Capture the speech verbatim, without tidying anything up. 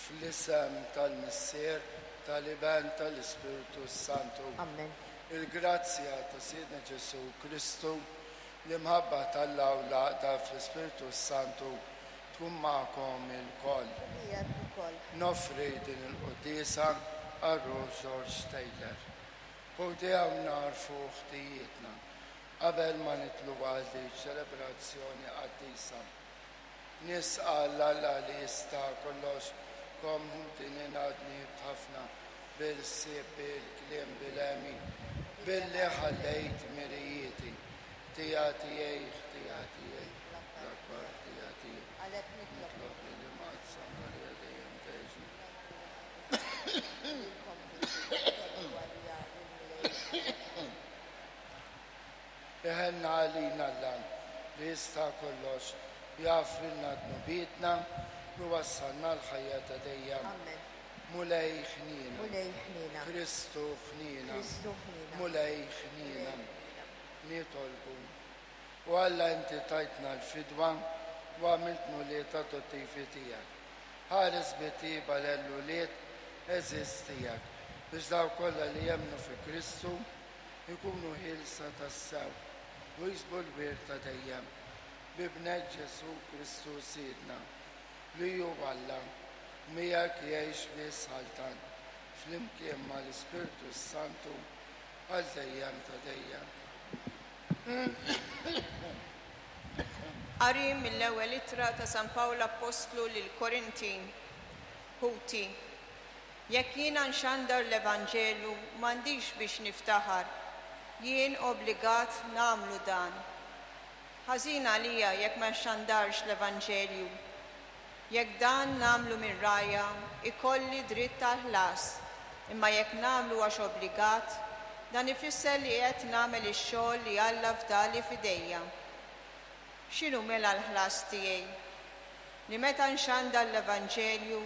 Fl-isem tal-Missier, tal-Iben, tal-Ispirtu Santu. Amen. Il-grazzja ta' Sidna Ġesù Kristu, l-imħabba t'Alla u l-għaqda fl-Ispirtu Santu tkun magħkom ilkoll. U miegħek ukoll. Noffri din il-quddiesa għal ruħ George Taylor. Ħuti, hawn nagħrfu ħtijietna qabel ma nidħlu għal din ċelebrazzjoni qaddisa. Nistqarr 'l Alla li jista' kollox lilkom ħuti li dnibt ħafna bil-ħsieb, bil-kliem, bil-għemil, billi ħallejt dmirijieti. Ħtija tiegħi, ħtija tiegħi, l-akbar ħtija tiegħi. Għalhekk nitlob Nitlob lill-Imqaddsa Marija dejjem Verġni. Lilkom ħuti għalija lill-Mulej. Iħenn għalina Alla li jista' kollox, jaħfrilna dnubietna u jwassalna għall-ħajja ta' dejjem. Amen. Mulej ħnina. Mulej ħnina. Kristu ħnina. Kristu ħnina. Mulej ħnina. Nitolbu. O Alla, inti tajtna l-fidwa u għamiltna wlied adottivi tiegħek. Ħares bit-tjieba l-ulied għeżież tiegħek biex dawk kollha li jemmnu fi Kristu ikunu ħielsa tassew u jiksbu l-wirt ta' dejjem. B'Ibnek Ġesù Kristu Sidna, li hu Alla, miegħek jgħix u jsaltan flimkien mal-Ispirtu Santu għal dejjem ta' dejjem. Qari mill-ewwel ittra ta' San Pawl Appostlu lil Korintin. Ħuti, jekk jiena nxandar l-Evanġelju m'għandix biex niftaħar, jien obbligat nagħmlu dan. Ħażin għalija jekk ma nxandarx l-Evanġelju. Jekk dan nagħmlu minn rgħajja, ikolli dritt tal-ħlas, imma jekk nagħmlu għax obbligat, dan ifisser li qed nagħmel ix-xogħol li Alla fdali f'idejja. X'inhu mela l-ħlas tiegħi? Li meta nxandar l-Evanġelju,